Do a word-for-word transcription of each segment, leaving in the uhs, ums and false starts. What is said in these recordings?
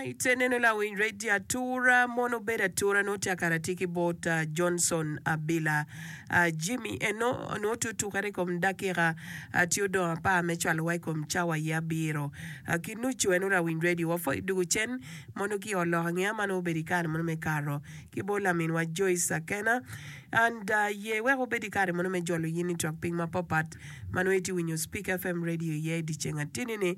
Alright, eneno lawiny radio atura mono bedo atura nongo tye akara tye ki bot uh, Johnson Abila uh, Jimmy eno nongo tye otukere i kom dakika uh, tye odong apar me cwalowa i kom cawa ye abiro uh, ki nucu eno lawiny radio wapwoyo dugu cen mono ki oloko angeya ma nongo obedo i kare mono me kato ki bot laminwa Joyce Akena and uh, ye wek obed i kare mono me jolo yin i twak piny mapapat ma nongo itye winyo Speak F M radio iye i dyeceng atini-ni.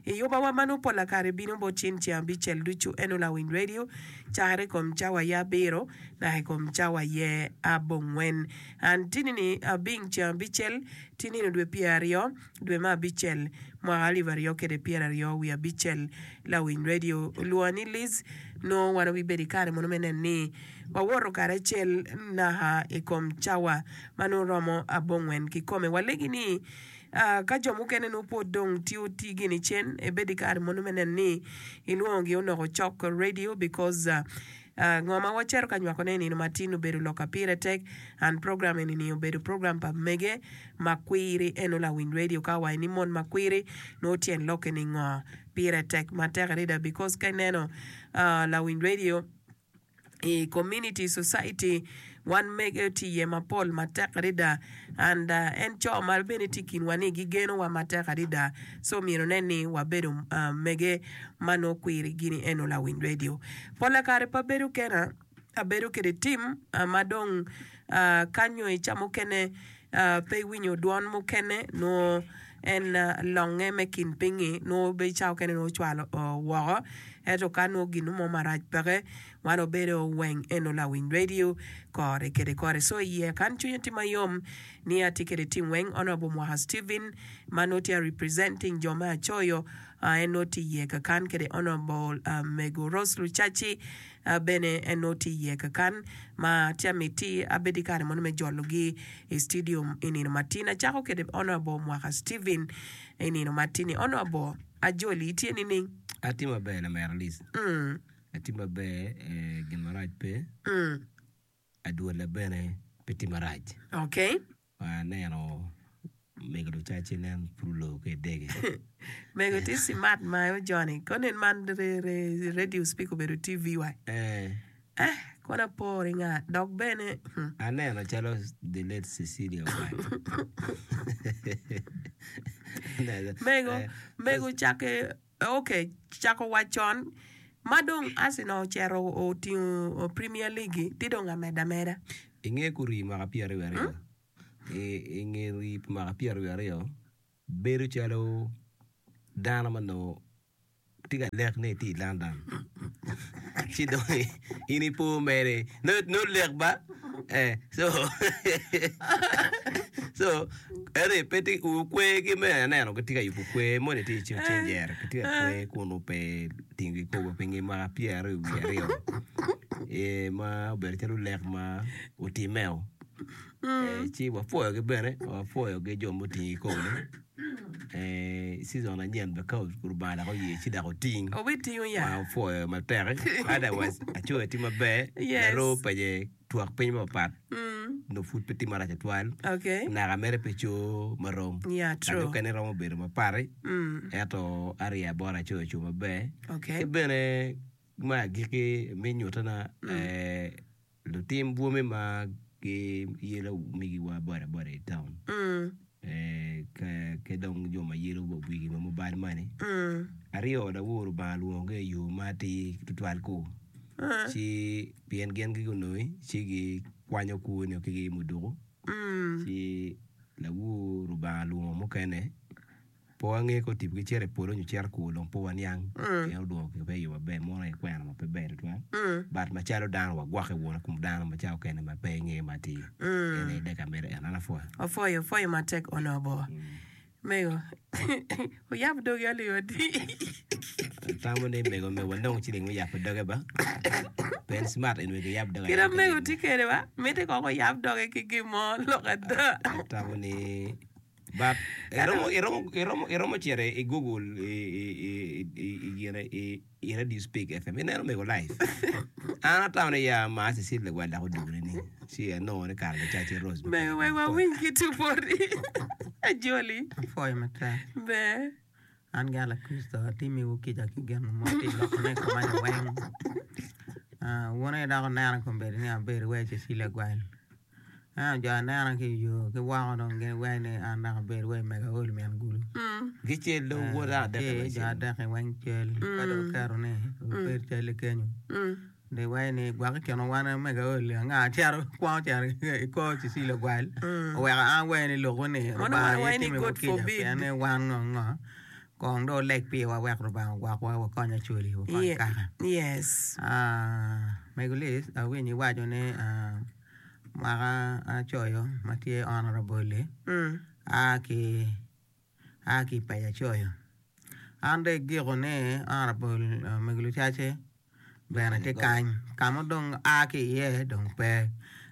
I yubawa ma nongo pola kare bino bot cin ceng abicel ducu eno lawiny radio cakere i kom cawa ye abiro naka i kom cawa ye abongwen. An tini-ni abing ceng abicel ti nino dwe pyeraryo dwe me abicel mwaka alip aryo kede pyeraryo wiye abicel. Lawiny radio olwonga ni Liz nongo wan wabibedo i kare mono me neno ni wawoto karacel naka i kom cawa ma nongo romo abongwen kikome. Walegi ni ka jo mukene nongo pwod dong tiyo tigi ni cen, ibed i kare mono me neno ni ilwongogi onoko cok radio because ngo ma wacito ka nywakone i nino matin obedo lok a pire tek and program eni ni obedo program pa mege makwiri eno lawiny radio ka owaco ni mon makwiri nongo tyen lokke ni ngo pire tek matek adada because ka ineno lawiny radio i community society wan mege tye iye mapol matek adada and en co ma bene tye i kinwa ni gigenowa matek adada so myero nen ni wabedo mege ma nongo kwiri gini eno lawiny radio pola kare pe abedo kena abedo kede tim ma dong kanyo i ca mukene pe iwinyo dwon mukene nongo en longe me kin pinyi nongo be ca mukene nongo ocwalo woko ento ka nongo gin mo marac peke wan obedo weng eno lawiny radio kore kede kore so iye kan cwinya tye mayom ni atye kede tim weng Honorable Mwaka Stephen ma nongo tye representing jo me Acoyo en nongo tye iye kakan kede Honorable Mego Rose Lucaci bene en nongo tye iye kakan ma tye amiti abed i kare mono me jologi i studio i nino matin acako kede Honorable Mwaka Stephen i nino matini Honorable Ajoli itye nining? Atye maber lamera Liz. Mm. Atye maber eh, gin marac pe. Mm. Adwola bene pe tye marac. Okay. Aneno mego lucaci nen pud oloo ki idege. Mego tye smart ma ojoni. Kono man re, re, radio speak obedo T V wa. Eh. Eh, kono apor nga dok bene. Hmm. Aneno calo the late Cecilia Wine. Mego, mego cake, okay, cako wacon. Ma dong Arsenal ocito otingo Premier League, ti dong ameda ameda. Inge kuri mwaka pyeraryo aryo. Inge ri mwaka pyeraryo aryo, bedo calo dano ma nongo tye ka lek ni etye i London. Ci dong in ipo mere nongo lek ba eh so so ento pe tye kwergi me aneno gitye ka yubo kwer moni tye i cenjere gitye ka kwer kun pe tingo kikopo pi nge mwaka pyeraryo wiye aryo eh ma obedo calo lek ma otimmeo eh ci wapwoyogi bene wapwoyogi jo mutingo kikopo-ni eh season anyen bene ka Lubanga dok oye ci dok oting Obitingo ya. Wapwoyo matek otherwise acoyo tye maber Yes. laroo pece twak piny mapat Mm. nongo pud pe tye marac tutwal Okay. naka mere pe co marom Yeah, ka true. mukene romo bedo mapati Mm. ento arya bot acoyo oco maber Okay. ki bene me agikki me nyutana eh, lutim bwome ma giyelo migiwa boda boda i town Mm. eh, ke- ki dong jo ma yelo wigi ma mobile money Mm. aryo lawor Lubanga lwongogi i yo ma atir tutwal ku Uh. ci pien gin gigunoi ci gikwanyo kwoni ki gi muduku Mm. ci lawor Lubanga lwongo mukene pe wange ka otipogi cito i polo nyo cito kur dong pe waniang Mm. pien olwongo pe i yo maber mono aye kwena ma pe ber tutwal Mm. but macalo dano wagwokke wunu i kom dano ma ca okene ma pe ingeyo matir Mm. en aye deka mere en an apwoyo. Opwoyo, opwoyo matek Honorable. Mego, oyab dogi aliyo adi. Atamo ni mego me wanong ciling me yabo doge ba pien smart en wek iyab doge Kit ayaba mego ki tye kede ba, miti kong oyab doge ki gin mo lok ada. Atamo ni but iromo iromo iromo iromo cito i Google i i i i i gine i i Radio Speak F M ineno mego live an atamo ni ya ma Cecilia Lagwal dok odugone ni ci anongo ni kare lucaci Rose Mego wek wawiny ki tupori. Ajoli. Apwoyo matek. Ber. An gin Lakricito atimiwu kica ki gin mo tye i lokone i koma ni weng. Ah, wun aye dok wunena kombeddi ni abedo wai Cecilia Gwal. Ento jo anena ki i yo ki woko dong gin giwaco ni an dok abedo wai mego aol min gulu. Gicel dong wod Eh, adek ci jo adek-ki weng cal ka dong oketo ni obed cal-li kenyo. Dong iwaco ni gwok i kine wan omege aol-li anga cito kwongo cito i kor Cecilia Gwal oweko an awaco ni lokwu ni Mono Rubanga wan aye waco ni timiwu God kica forbid. pien ni wan ngo ngo kong dong wuleg piwa wek Rubanga ogwokwa wakony Acholi wakony Ye- kaka. Yes. Ah, Mego Liz awinyo iwaco ni ah, mwaka acoyo ma tye honorable-li Mm. a ki a ki i paco acoyo. An dong igiko ni honorable uh, Mego Lucace bene tye kany ka ma dong a ki iye dong pe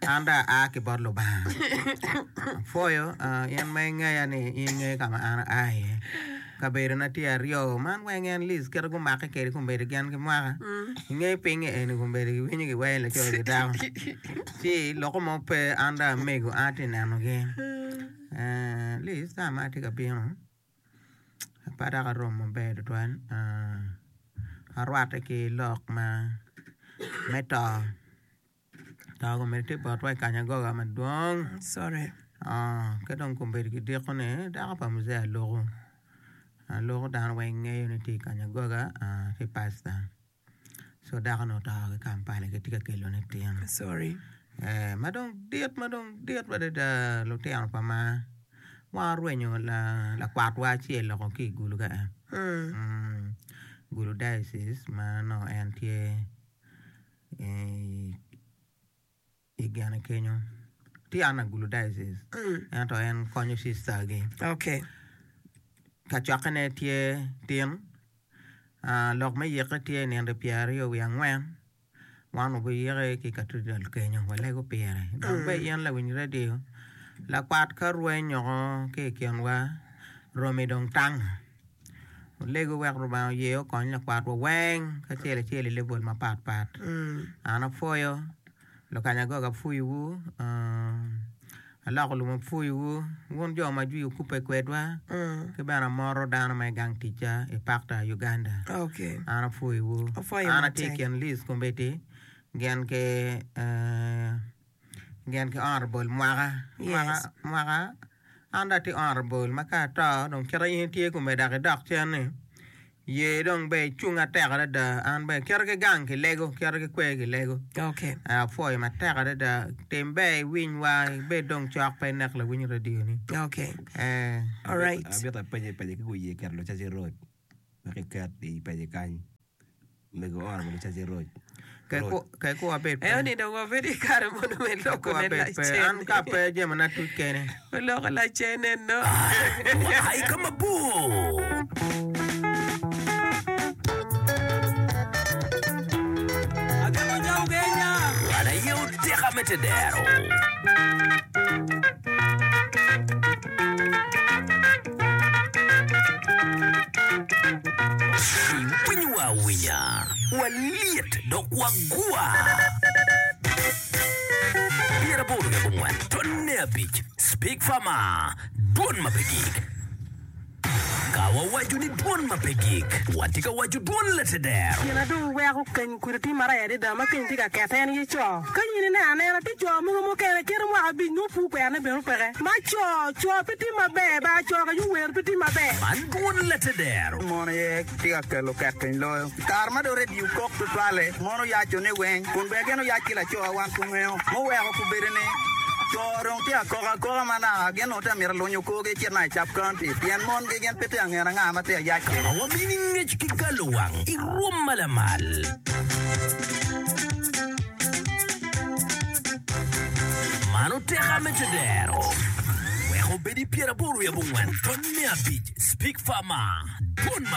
an dong aa ki bot Lubanga. Apwoyo uh, in ma ingeya ni in ingeyo ka ma an aa iye. Kabedona tye aryo man weng en Liz kite gumake kwede kombeddi gin ki mwaka ingeyo pinye eni kombeddi giwinyo giweyo laco ki dako ci loko mo pe an dong amego an atye nenogi. Eh, Liz ca ma atye ka bino pe dok aromo maber tutwal ah, arwatte ki lok ma me to to kombeddi tye botwa i Kanyagoga madwong Sorry. Ah, ka dong kombeddi kidiko ni dako pa muzee Aluku Aluku dano weng ngeyo ni tye i Kanyagoga ah, tye pastor so dako-ni oto ki Kampala gitye ka kelone tin Sorry. Eh, ma dong dit ma dong dit adada lutino pa maa wan orwenyo la lakwatwa acel loko ki i gulu ka en Mm. mm, Gulu diocese ma nongo en tye i i gine kenyo tye an Gulu diocese Mm. ento en konyo sister gi Okay. kacokkene tye tin ah, lok me yikke tye nino pyeraryo wiye angwen wan obiyike ki cathedral kenyo walego pire dok be in lawiny radio lakwat ka rweny oko ki i kinwa romi dong tango olego wek Rubanga oye okony lakwatwa weng kacel acel i level mapat pat Mm. an apwoyo lukanyagoga apwoyowu ah, aloko lum apwoyowu wun jo ma jwi okubbe kwedwa Mm. ki bene amoto dano ma i gang ticca i Pakta Uganda Okay. an apwoyowu Apwoyo an atye i matek. kin list kombeddi gin ki eh, gin ki honorable mwaka mwaka Yes. mwaka an dong atye honorable ma ka ato dong kite in itye kome dok idok cen ni ye dong be icung atek adada an be kite ki gang kilego kite ki kwer kilego Okay. Eh, apwoyo matek adada tim ber iwinywa ibed dong cok pe inek lawiny radio ni Okay. eh, All right. Amito apenye penye ki guye keto Lucaci Road wek iket i paci kany mego honorable Lucaci Road ke ku abed pe Eo ni dong wabedo i kare mono me Ke ku loko ne abed pe an lacen. ka pe jamina tuc kene Oloko lacen eno. Ai ka mabor. Wan aye oteka me tedero. Iwinywa awinya, walyet dok wagwa. Pyeraboro wiye abongwen, tonne abic, Speak Farmer, dwon ma pe gik. Ka wawaco ni dwon ma pe gik, watye ka waco dwon lateder. Gin na dong weko keny kudi tye marac adada ma keny tye ka kete en ye co. Ka in ineno anena tye co mogo mukene kite mwaka abic nongo pur kwerone bene peke. Ma co, co pe tye maber ba co ka wer pe tye maber. Man dwon lateder. Mon aye tye ka kelo ket piny loyo. Kare ma dong redio kok tutwale, mon oyaco ni weng, kun bene gin oyac ki laco wan kungeo. Muweko kubedo ni co dong tye akoka akoka ma naka gin onongo tye mito lunyo korgi cit na i Cap County pien mon gi gin pe tye angeno anga ma tye ayac kwede. Ma wamini ngec ki galo wang i rwom ma lamal. Man oteka me tedero. Wek obed i pyeraboro wiye abongwen tonne abic Speak Farmer. Dwon ma